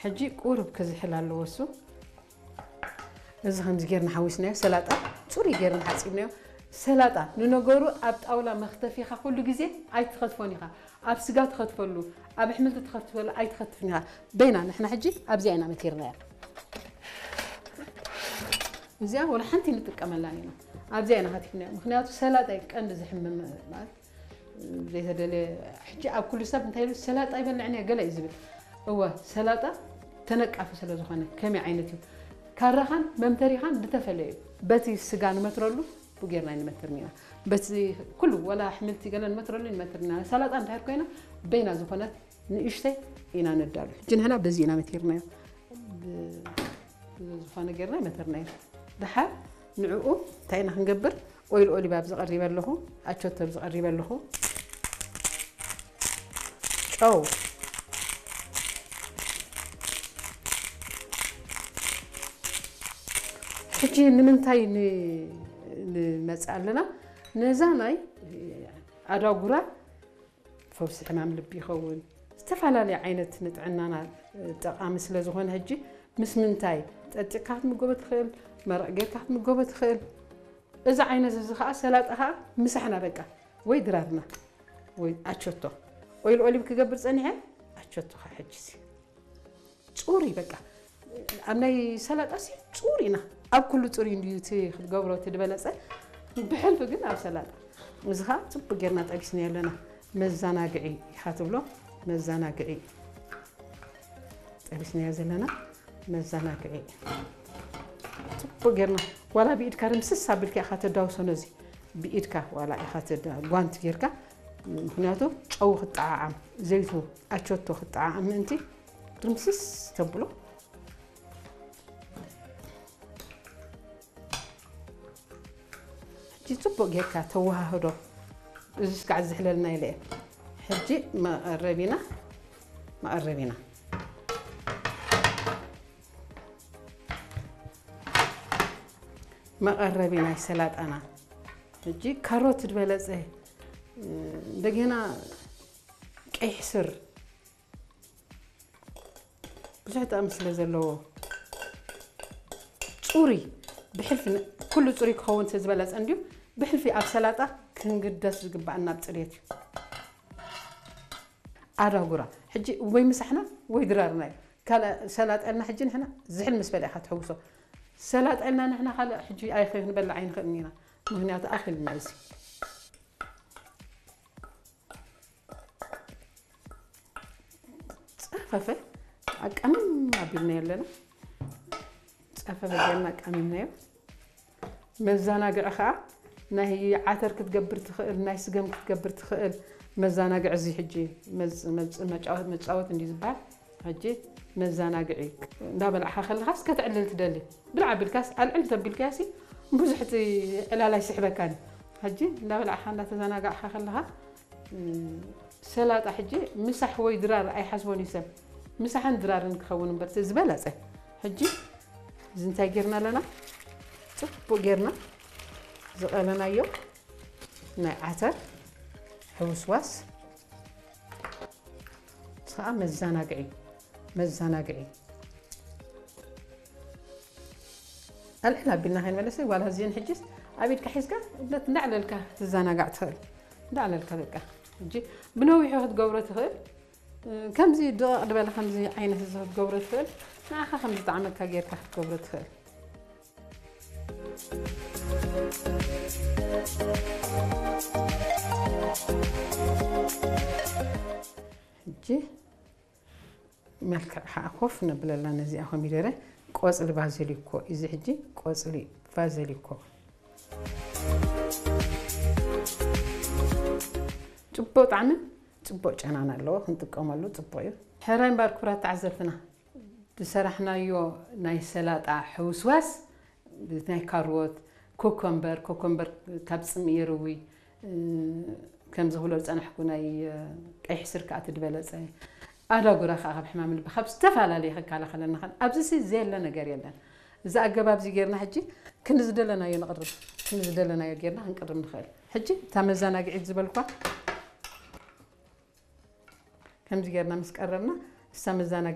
ሕጂ ቁሩብ ክዝሕል ኣለዎ እሱ። እዚ ከምዚ ጌርና ሓዊስናዮ፣ ሰላጣ ጽሩይ ጌርና ሓጺብናዮ። ሰላጣ ንነገሩ ኣብ ጣውላ መኽተፊኻ ኩሉ ግዜ ኣይትኸትፎን ኢኻ። ኣብ ስጋ ትኸትፈሉ፣ ኣብ ኣሕምልቲ ትኸትፈሉ ኣይትኸትፍን ኢኻ። በይና ንሕና ሕጂ ኣብዚኣ ኢና መቲርናያ። እዚኣ ወላ ሓንቲ ንጥቀመላን ኢና። ኣብዚኣ ኢና ከቲፍናዮ። ምኽንያቱ ሰላጣ እዩ ቀንዲ ዝሕምም ማለት ዘይተደለየ። ሕጂ ኣብ ኩሉ ሰብ እንታይ ኢሉ ሰላጣ ይበልዕን እየ ገለ እዩ ዝብል። እወ ሰላጣ ተነቃፊ ስለ ዝኾነ ከመይ ዓይነት እዩ ካራኻን መምተሪኻን ዝተፈለየ እዩ። በቲ ስጋ ንመትረሉ ብኡ ጌርና ንመትር ኢና። በቲ ኩሉ ወላ ኣሕምልቲ ገለ ንመትረሉ ንመትር ኢና። ሰላጣ እንድሕር ኮይና በይና ዝኾነት ንእሽተይ ኢና ነዳሉ። ሕጂ ንሕና በዚ ኢና መቲርናዮ። ብ-፣ ብዝኾነ ጌርና መተርናዮ። ደሓር ንዕኡ እንታይ ኢና ክንገብር? ኦይል ኦሊቭ ኣብዚ ቀሪበ ኣለኹ፣ ኣቾቶ ኣብዚ ቀሪበ ኣለኹ። ጨው። ሕጂ ንምንታይ ን-፣ ንመጽእ ኣለና? ነዛ ናይ ኣዳጉራ ፈውሲ ሕማም ልቢ ይኸውን። ዝተፈላለየ ዓይነት ንጥዕናና ጠቓሚ ስለ ዝኾነ ሕጂ ምስ ምንታይ ጠጢቕካ ክትምገቦ ትኽእል፣ መረቕ ጌርካ ክትምገቦ ትኽእል። እዚ ዓይነት እዚ ኸዓ ሰላጣ ኸዓ ምሳሕና በቃ ወይ ድራርና ወይ ኣቸቶ ኦይል ኦሊቭ ክገብር ጸኒሐ ኣቸቶ ኸዓ ሕጂ እዚ ጹሪ በቃ ኣብ ናይ ሰላጣ ሲ ጹሪ ኢና ኣብ ኩሉ ጹሪ እንድዩ እቲ ክትገብሮ እቲ ዝበለጸ ብሕልፊ ግን ኣብ ሰላጣ እዚ ኸዓ ጽቡቅ ጌርና ጠቢስና ኣለና መዛናግዒ ኢኻ ትብሎ መዛናግዒ ጠቢስናዮ ዘለና መዛናግዒ ጽቡቅ ጌርና ዋላ ብኢድካ ርምስስ ኣቢልካ ኢኻ ተዳውሶ ነዚ ብኢድካ ዋላ ኢኻ ተዳ ጓንት ጌርካ ምኽንያቱ ጨው ክጠዓዓም ዘይቱ ኣቸቶ ክጠዓዓም ምእንቲ ርምስስ ተብሎ ሕጂ ጽቡቅ ጌርካ ተወሃህዶ እዚ ስጋዕ ዝሕለልና ኢለ ሕጂ መቐረቢና መቐረቢና መቐረቢ ናይ ሰላጣና ሕጂ ካሮት ዝበለጸ እንደገና ቀይሕ ስር ብዙሕ ጥቕሚ ስለ ዘለዎ ፁሪ ብሕልፊ ኩሉ ፁሪ ክኸውን ስለ ዝበለፀ እንድዩ ብሕልፊ ኣብ ሰላጣ ክንግደስ ዝግባኣና ኣብ ፅሬት እዩ ኣዳጉራ ሕጂ ወይ ምሳሕና ወይ ድራርና እዩ ካልእ ሰላጣ ኢልና ሕጂ ንሕና ዝሕል ምስ በለ ኢኻ ትሕውሶ ሰላጣ ኢልና ንሕና ካልእ ሕጂ ኣይኸ ክንበልዕ ኣይንኽእልን ኢና ምክንያቱ ኣኺልና እዩ ጸፈፈ ኣቃምም ኣቢልናዮ ኣለና ጸፈፈ ጌርና ኣቃሚምናዮ መዘናግዒ ከዓ ናይ ዓተር ክትገብር ትኽእል ናይ ስገም ክትገብር ትኽእል መዘናግዒ እዚ ሕጂ መፃወት እንዲ ዝበሃል ሕጂ መዘናግዒ እንዳበላዕካ ከለኻስ ከተዕልል ትደሊ ብልዓ ቢልካስ ኣልዕል ተቢልካሲ ብዙሕ እቲ ዕላል ኣይስሕበካን ሕጂ እንዳበላዕካ እንዳተዘናጋዕካ ከለኻ ሰላጣ ሕጂ ምሳሕ ወይ ድራር ኣይሓስቦን እዩ ሰብ ምሳሕን ድራርን ክኸውን እምበር ዝበለፀ ሕጂ እዚ እንታይ ጌርና ኣለና ፅቡቅ ጌርና ዝቐለናዮ ናይ ዓተር ሕውስዋስ ከዓ መዘናግዒ መዘናግዒ ኣልዕል ኣቢልና ከይንመለሰ ጓል ዚን ሕጅስ ኣብ ኢድካ ሒዝካ እንዳዕለልካ ትዘናጋዕ ትኽእል እንዳዕለልካ በቃ ሕጂ ብነዊሑ ክትገብሮ ትኽእል ከምዚ ድቕቕ ዝበለ ከምዚ ዓይነት እዚ ክትገብሮ ትኽእል ንዓኻ ከም ዝጠዓመካ ጌርካ ክትገብሮ ትኽእል ሕጂ መልክዕ ከዓ ኮፍ ነብለላ ነዚኣ ኮሚደረ ቆፅሊ ባዘሊኮ እዚ ሕጂ ቆፅሊ ባዘሊኮ ፅቡቅ ጣዕምን ፅቡቅ ጨናን ኣለዎ ክንጥቀመሉ ፅቡቅ እዩ ሕራይ እምበር ክብራት ተዓዘብትና ዝሰራሕናዮ ናይ ሰላጣ ሕውስዋስ ናይ ካሮት ኮኮምበር ኮኮምበር ካብ ፅምኢ የርዊ ከምዚ ክብሎ ዝፀናሕኩ ናይ ቀይሕ ስር ከዓ ትድበለፀ ኣዳጉራ ከዓ ካብ ሕማም ልቢ ካብ ዝተፈላለዩ ክከላኸለና ከን ኣብዚ ሲ ዘየለ ነገር የለን እዚ ኣገባብ እዚ ጌርና ሕጂ ክንዲ ዝደለናዮ ንቕርብ ክንዲ ዝደለናዮ ጌርና ክንቅርብ ንኽእል ሕጂ እታ መዘናግዒት ዝበልኳ ከምዚ ጌርና ምስ ቀረብና እሳ መዘናግዒ